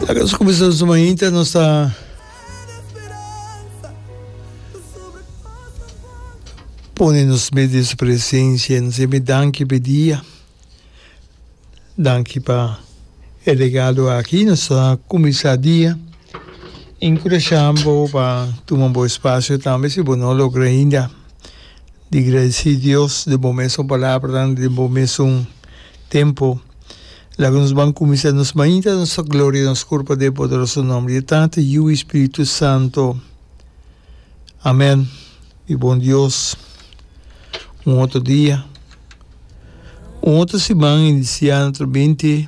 Laga nos kuminsá nos mainta, nos ta pone nos mes den su presensia, nos ta danki pa e dia, danki pa e regalo aki. Nos ta kuminsá dia enkurashá bo pa tuma bo espasio tambe si bo no logra ainda di gradisí Dios den bo mesun palabranan, den bo mesun tempu. Laga nos ban kuminsá nos mainta nos ta gloria nos kurpa den e poderoso nòmber di e Tata, Yu i Spiritu Santo. Amèn. Mi bon Dios, un otro dia, un otro siman inisiá naturalmente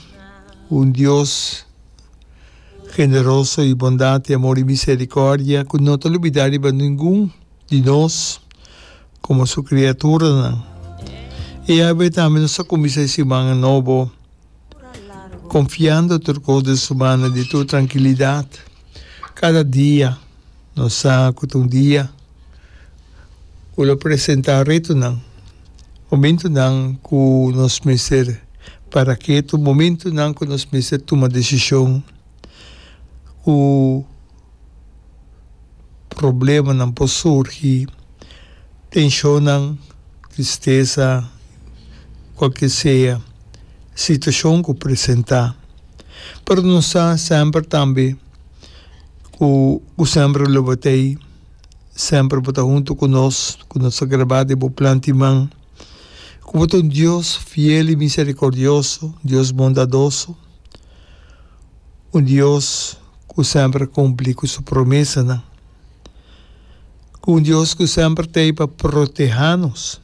ku un Dios generoso i bondat i amor i miserikòrdia ku no ta lubidá riba ningun di nos komo su kriaturanan. I awe tambe nos ta kuminsá e siman nobo konfiando tur kos den su mano di tur trankilidat. Kada dia nos sa ku ta un dia ku lo presentá retonan, momentunan ku nos mester para ketu, momentunan ku nos mester tuma desishon ku Problemanan por surgi, tenshonnan, tristesa, kualke sea situashon ku presentá. Pero nos sa semper tambe ku bo semper lo bo ta ei, semper bo ta huntu ku nos, ku nos ta grabá den bo plan di man, ku bo ta un Dios fiel i miserikordioso, Dios bondadoso, un Dios ku semper a kumpli ku su promesanan, ku un Dios ku semper ta ei pa protehá nos.